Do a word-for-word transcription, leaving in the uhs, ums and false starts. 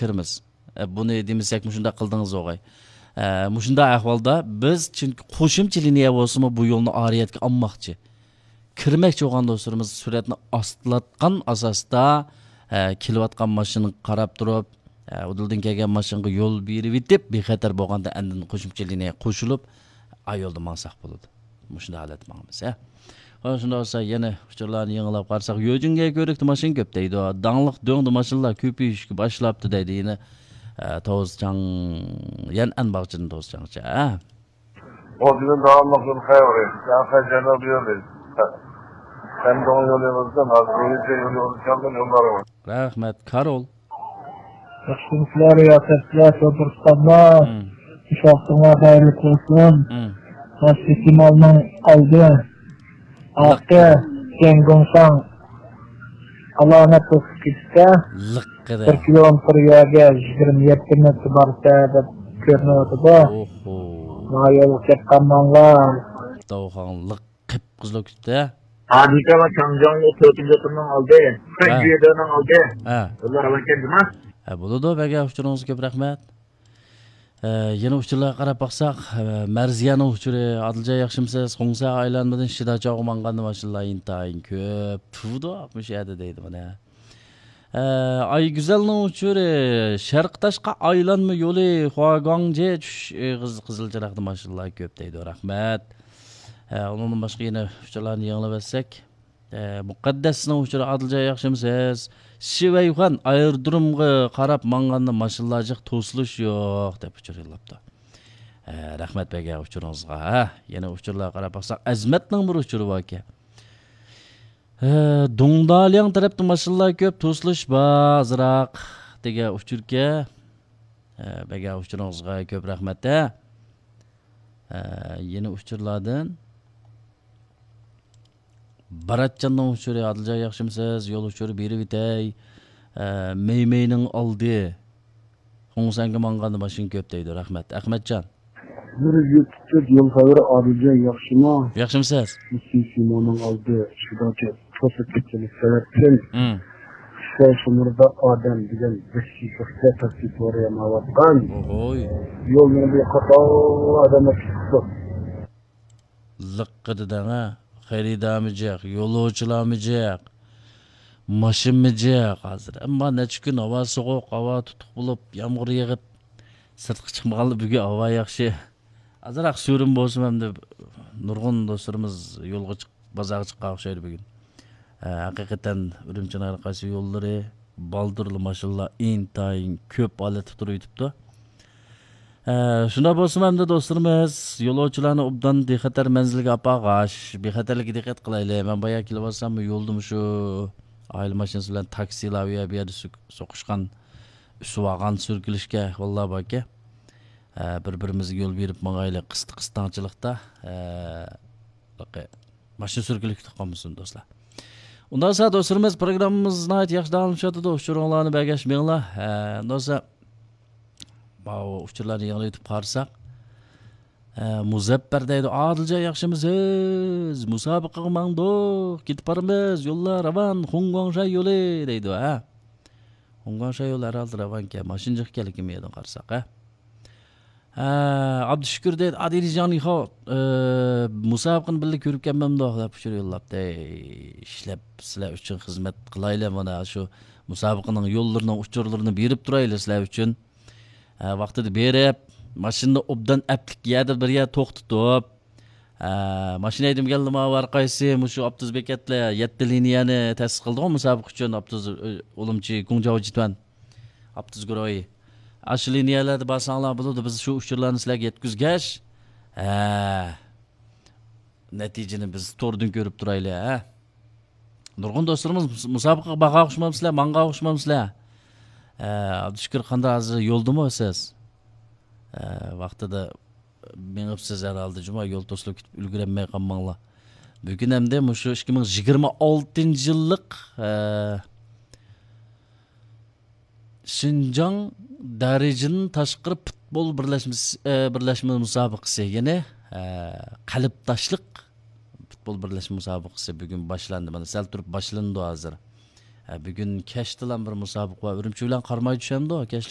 كىرىمىز. ئە، بۇنى دېمىسەك، مۇشۇنداق قىلدىڭىز ئوغاي. ئە، مۇشۇنداق ئەھۋالدا بىز، چۈنكى قوشۇمچە لىنىيە بولسىمۇ، بۇ يولنى ئارىيەتكە ئالماقچى. كىرمەكچى بولغان دوستلىرىمىز سۈرئەتنى ئاستىلاتقان ئاساستا، ئە، كېلىۋاتقان ماشىنىغا قاراپ تۇرۇپ، ئە، ئۇدۇلدىن كەلگەن ماشىنىغا يول بېرىۋېتىپ، بىخەتەر بولغاندا ئاندىن قوشۇمچە لىنىيە قوشۇلۇپ، ئا يولدا ماڭساق بولىدۇ. مۇشۇنداق ھالەتتە ماڭىمىز، ھە. ھە، شۇنداق بولسا، يەنە ئۇچۇرلارنى يېڭىلاپ قارىساق، يۆجۈنگە كۆۋرۈكتە ماشىنا كۆپ دەيدۇ. داڭلىق دۆڭدە ماشىنىلار كۆپىيىشكە باشلاپتۇ دەيدۇ. يەنە، ئە، توزچاڭ، يەنئەن باغچىدىن توزچاڭچە، ھە. 我这边到了很开胃，然后还见到别人，山东有那个正好属于这个就是江东有那种。 رەھمەت، كارول. ياخشىمۇسىلەر، رىياسەتچىلەر، شوپۇر ئۇستازلار؟ مم. مۇشۇ ۋاقتىڭلار خەيرلىك بولسۇن. مم. ماشىنا كېمالنىڭ ئالدى، ئارقا، جيەنگۇڭشاڭ ئالامەت توسۇپ كېتىپتە. لىققىدە. بىر كىلومېتىر يەرگە يىگىرمە يەتتە مېتىر بارسا دەپ كۆرۈنۈۋاتىدۇ. ئوھو. ما يولغا كەپ قالماڭلار. داۋخاڭ لىق قىپقىزىل بولۇپ كېتىپتۇ. ھادىكا ۋە چاڭجياڭلىق تۆتىنچى ئوتۇننىڭ ئالدى، ھە. گۈيدېنىڭ ئالدى. ھە. يوللار راۋانكەن جۇما. ھە، بولىدۇ، بەگە ئۇچۇرىڭىزغا كۆپ رەھمەت. ئە، يەنە ئۇچۇرلارغا قاراپ باقساق، ئە، مەرزىيەنىڭ ئۇچۇرى، ئادىلجان ياخشىمۇسىز؟ خۇڭسەگە ئايلانمىدىن شىداچاۋغا ماڭغاندا ماشىنىلار ئىنتايىن كۆپ. تۇرىدۇ، مۇشۇ يەردە دەيدۇ مانا. ئە، ئايگۈزەلنىڭ ئۇچۇرى، شەرقىي تاشقى ئايلانما يولى، خۇاگۇاڭجې چۈش ئېغىز قىزىل چىراغدا ماشىنىلار كۆپ دەيدۇ. رەھمەت. ئە، ئۇنىڭدىن باشقا يەنە ئۇچۇرلارنى يېڭىلىۋەتسەك. ئە، مۇقەددەسنىڭ ئۇچۇرى، ئادىلجان ياخشىمۇسىز؟ شىۋەيخۇەن ئايرودرومغا قاراپ ماڭغاندا ماشىنىلار جىق، توسۇلۇش يوق دەپ ئۇچۇر يوللاپتۇ. ئە، رەھمەت بەگە ئۇچۇرىڭىزغا. ھە، يەنە ئۇچۇرلارغا قاراپ باقساق، ئەزمەتنىڭ بىر ئۇچۇرى باركەن. ھە، دۇڭدالياڭ تەرەپتە ماشىنىلار كۆپ، توسۇلۇش بار ئازراق دېگەن ئۇچۇركەن. ھە، بەگە ئۇچۇرىڭىزغا كۆپ رەھمەت ھە. ھە، يەنە ئۇچۇرلاردىن. باراتجاننىڭ ئۇچۇرى، ئادىلجان ياخشىمۇسىز؟ يول ئۇچۇرى بېرىۋېتەي. ھە، مەيمەينىڭ ئالدى. خۇڭسەنگە ماڭغاندا ماشىنا كۆپ دەيدۇ. رەھمەت. ئەخمەتجان. بىر يۈز تۆت يول خەۋىرى، ئادىلجان ياخشىمۇ؟ ياخشىمۇسىز؟ مۇسى سىموننىڭ ئالدى شۇداچە توسۇپ كەتكەنلىك سەۋەبتىن، مم. خىسەي شۇمۇردا ئادەم دېگەن ۋەھشىيلىكتە تاكسى سورىيالمايۋاتقان. ئوھوي. يولنىڭ بىر قاتار ئادەملەر چىقىپتۇ. لىققىدە دەڭە، خېرىدارمۇ جىق، يولۇچىلارمۇ جىق، ماشىنىمۇ جىق ھازىر. ئەمما نەچچە كۈن ھاۋا سوغۇق، ھاۋا تۇتۇق بولۇپ، يامغۇر يېغىپ، سىرتقا چىقمىغانلار بۈگۈن ھاۋا ياخشى. ئازراق سۈرۈن بولسىمۇ، ئەمدى نۇرغۇن دوستلىرىمىز يولغا چىقىپ، بازارغا چىققان ئوخشايدۇ بۈگۈن. ھە، ھەقىقەتەن ئۈرۈمچىنىڭ ھەر قايسى يوللىرى بالدۇرلا ماشىنىلار ئىنتايىن كۆپ ھالەتتە تۇرۇۋېتىپتۇ. ھە، شۇنداق بولسىمۇ ئەمدى دوستلىرىمىز، يولۇچىلارنى ئوبدان بىخەتەر مەنزىلگە ئاپارغاچ، بىخەتەرلىككە دىققەت قىلايلى. مەن بايا كېلىۋاتسام، يولدا مۇشۇ ئائىلە ماشىنىسى بىلەن تاكسىلار ئۇ يەر بۇ يەردە سۈك-، سوقۇشقان، ئۈسۈۋالغان، سۈركىلىشكەن ئەھۋاللار باركەن. ھە، بىر-بىرىمىزگە يول بېرىپ ماڭايلى، قىستى-قىستاڭچىلىقتا. ھە، ماشىنا سۈركىلىپ كېتىپ قالمىسۇن، دوستلار. ئۇنداق بولسا، دوستلىرىمىز، پروگراممىمىز ناھايىتى ياخشى داۋاملىشىۋاتىدۇ. ئۇچۇرۇڭلارنى بەرگەچ مېڭىڭلار. ھە، ئۇنداق بولسا، ماۋۇ ئۇچۇرلارنى يېڭىلىۋېتىپ قارىساق، ھە، مۇزەپپەر دەيدۇ، ئادىلجان ياخشىمۇسىز؟ مۇسابىقىگە ماڭدۇق، كېتىپ بارىمىز، يوللار راۋان، خۇڭگۇاڭشاي يولى دەيدۇ، ھە. خۇڭگۇاڭشاي يولى ھەر ھالدا راۋانكەن، ماشىنا جىق ئىكەنلىكىنى مۇ يەردىن قارىساق، ھە. ھە، ئابدۇشۈكۈر دەيدۇ، ئادىلجان يىخاۋ، ئە، مۇسابىقىنى بىللە كۆرۈپ كەلمەمدۇق دەپ ئۇچۇر يوللاپتۇ. ئەي، ئىشلەپ سىلەر ئۈچۈن خىزمەت قىلايلى، مانا شۇ مۇسابىقىنىڭ يوللىرىنىڭ ئۇچۇرلىرىنى بېرىپ تۇرايلى سىلەر ئۈچۈن. ھە، ۋاقتىدا بېرىپ، ماشىنىنى ئوبدان ئەپلىك يەردە بىر يەر توختىتىپ، ھە، ماشىنا ھەيدىمىگەنلىمۇ ھەر قايسى مۇشۇ ئاپتوبۇس بېكەتلەر، يەتتە لىنىيەنى تەسىس قىلدىغۇ مۇسابىقە ئۈچۈن ئاپتوبۇس، ئۇ، ئۇلۇمچى گۇڭجاۋجىتۈەن ئاپتوبۇس گۇرۇھى. ئاشۇ لىنىيەلەردە بارساڭلار بولىدۇ، بىز شۇ ئۇچۇرلارنى سىلەرگە يەتكۈزگەچ، ھە، نەتىجىنى بىز توردىن كۆرۈپ تۇرايلى، ھە. نۇرغۇن دوستلىرىمىز مۇس-، مۇسابىقىگە بارغان ئوخشىمامسىلەر، ماڭغان ئوخشىمامسىلەر؟ ھە، ئابدۇشۈكۈر، قانداق، ھازىر يولدىمۇ سىز؟ ھە، ۋاقتىدا مېڭىپسىز ھەر ھالدا جۇما، يول توسۇلۇپ كېتىپ ئۈلگۈرەلمەي قالماڭلار. بۈگۈن ئەمدى مۇشۇ ئىككى مىڭ يىگىرمە ئالتىنچى يىللىق، ھە، شىنجاڭ دەرىجىدىن تاشقىرى پۇتبول بىرلەشمىسى، ئە، بىرلەشمە مۇسابىقىسى، يەنى، ئە، قەلبداشلىق پۇتبول بىرلەشمە مۇسابىقىسى بۈگۈن باشلاندى. مانا سەل تۇرۇپ باشلىنىدۇ ھازىر. ئە، بۈگۈن كەچتىلا بىر مۇسابىقە بار. ئۈرۈمچى بىلەن قاراماي چۈشەمدۇ؟ كەچ